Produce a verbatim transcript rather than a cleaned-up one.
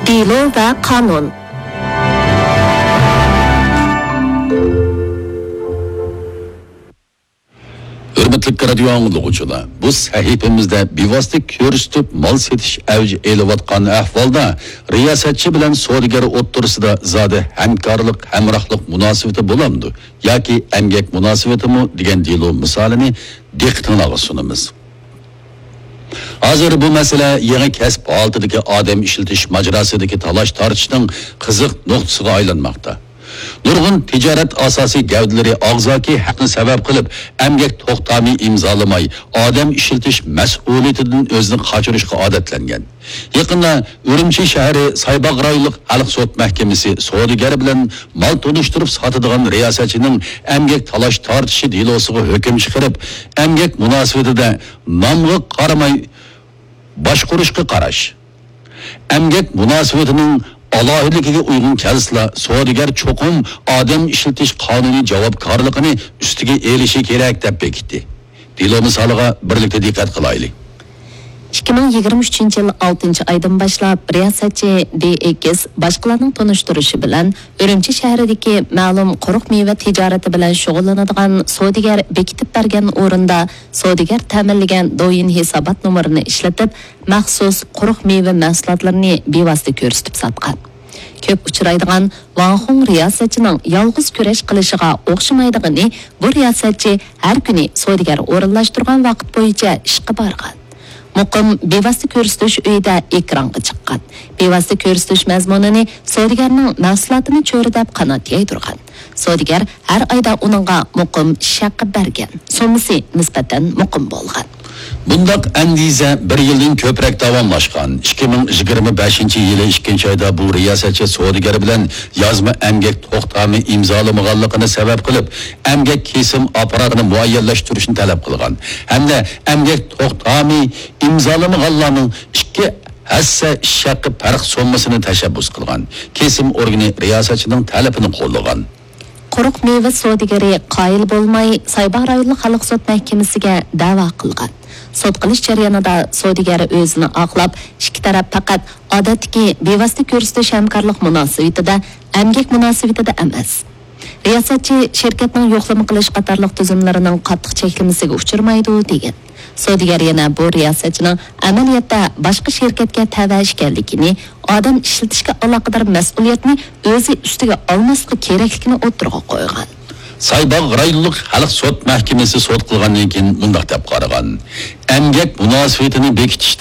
دېلو ۋە قانۇن. ھۆرمەتلىك رادىيو ئاڭلىغۇچىلار، بۇ سەھىپىمىزدە بىۋاسىتە كۆرسىتىپ مال سېتىش ئەۋج ئېلىۋاتقان ئەھۋالدا رىياسەتچى بىلەن سودىگەر ئوتتۇرىسىدا زادى ھەمكارلىق، ھەمراھلىق مۇناسىۋىتى بولامدۇ ياكى ئەمگەك مۇناسىۋىتىمۇ دېگەن دېلو مىسالىنى دىققىتىڭلارغا سۇنىمىز. ھازىر بۇ مەسىلە يېڭى كەسىپ ھالىتىدىكى ئادەم ئىشلىتىش ماجىراسىدىكى تالاش-تارتىشنىڭ قىزىق نۇقتىسىغا ئايلانماقتا. نۇرغۇن تىجارەت ئاساسىي گەۋدىلىرى ئاغزاكى ھەقنى سەۋەب قىلىپ، ئەمگەك توختامى ئىمزالىماي، ئادەم ئىشلىتىش مەسئۇلىيىتىدىن ئۆزىنى قاچۇرۇشقا ئادەتلەنگەن. يېقىندا ئۈرۈمچى شەھىرى سايباغ رايونلۇق خەلق سوت مەھكىمىسى سودىگەر بىلەن مال تونۇشتۇرۇپ ساتىدىغان رىياسەتچىنىڭ ئەمگەك تالاش-تارتىشى دېلوسىغا ھۆكۈم چىقىرىپ، ئەمگەك مۇناسىۋىتىدە نامغا قارىماي باشقۇرۇشقا قاراش، ئەمگەك مۇناسىۋىتىنىڭ ئالاھىدىلىكىگە ئۇيغۇن كەلسىلا، سودىگەر چوقۇم ئادەم ئىشلىتىش قانۇنىي جاۋابكارلىقىنى ئۈستىگە ئېلىشى كېرەك، دەپ بېكىتتى. دېلو مىسالىغا بىرلىكتە دىققەت قىلايلى. ئىككى مىڭ يىگىرمە ئۈچىنچى يىل ئالتىنچى ئايدىن باشلاپ، رىياسەتچى دى ئېكس باشقىلارنىڭ تونۇشتۇرۇشى بىلەن ئۈرۈمچى شەھىرىدىكى مەلۇم قۇرۇق مېۋە تىجارىتى بىلەن شۇغۇللىنىدىغان سودىگەر بېكىتىپ بەرگەن ئورۇندا سودىگەر تەمىنلىگەن دويىن ھېسابات نومۇرىنى ئىشلىتىپ، مەخسۇس قۇرۇق مېۋە مەھسۇلاتلىرىنى بىۋاسىتە كۆرسىتىپ ساتقان. كۆپ ئۇچرايدىغان ۋاڭ خۇڭ رىياسەتچىنىڭ يالغۇز كۈرەش قىلىشىغا ئوخشىمايدىغىنى، بۇ رىياسەتچى ھەر كۈنى سودىگەر ئورۇنلاشتۇرغان ۋاقىت بويىچە ئىشقا بارغان. مۇقىم بىۋاسىتە كۆرسىتىش ئۆيىدە ئېكرانغا چىققان. بىۋاسىتە كۆرسىتىش مەزمۇنىنى سودىگەرنىڭ مەھسۇلاتىنى چۆرىدەپ قانات يايدۇرغان. سودىگەر ھەر ئايدا ئۇنىڭغا مۇقىم ئىش ھەققى بەرگەن. سوممىسى نىسبەتەن مۇقىم بولغان. بۇنداق ئەندىزە بىر يىلدىن كۆپرەك داۋاملاشقان. ئىككى مىڭ يىگىرمە بەشىنچى يىلى ئىككىنچى ئايدا بۇ رىياسەتچى سودىگەر بىلەن يازما ئەمگەك توختامى ئىمزالىمىغانلىقىنى سەۋەب قىلىپ، ئەمگەك كېسىم ئاپپاراتىنى مۇئەييەنلەشتۈرۈشنى تەلەپ قىلغان ھەمدە ئەمگەك توختامى ئىمزالىمىغانلارنىڭ ئىككى ھەسسە ئىش ھەققى پەرق سوممىسىنى تەشەببۇس قىلغان. كېسىم ئورگىنى رىياسەتچىنىڭ تەلىپىنى قوللىغان. قۇرۇق مېۋە سودىگىرى قايىل بولماي، سايباغ رايونلۇق خەلق سوت مەھكىمىسىگە دەۋا قىلغان. سوت قىلىش جەريانىدا سودىگەر ئۆزىنى ئاقلاپ، ئىككى تەرەپ پەقەت ئادەتتىكى بىۋاسىتە كۆرسىتىش ھەمكارلىق مۇناسىۋىتىدە، ئەمگەك مۇناسىۋىتىدە ئەمەس. رىياسەتچى شىركەتنىڭ يوقلىما قىلىش قاتارلىق تۈزۈملىرىنىڭ قاتتىق چەكلىمىسىگە ئۇچرىمايدۇ، دېگەن. سودىگەر يەنە بۇ رىياسەتچىنىڭ ئەمەلىيەتتە باشقا شىركەتكە تەۋە ئىكەنلىكىنى، ئادەم ئىشلىتىشكە ئالاقىدار مەسئۇلىيەتنى ئۆزى ئۈستىگە ئالماسلىقى كېرەكلىكىنى ئوتتۇرىغا قويغان. سايباغ رايونلۇق خەلق سوت مەھكىمىسى سوت قىلغاندىن كېيىن مۇنداق دەپ قارىغان: ئەمگەك مۇناسىۋىتىنى بېكىتىش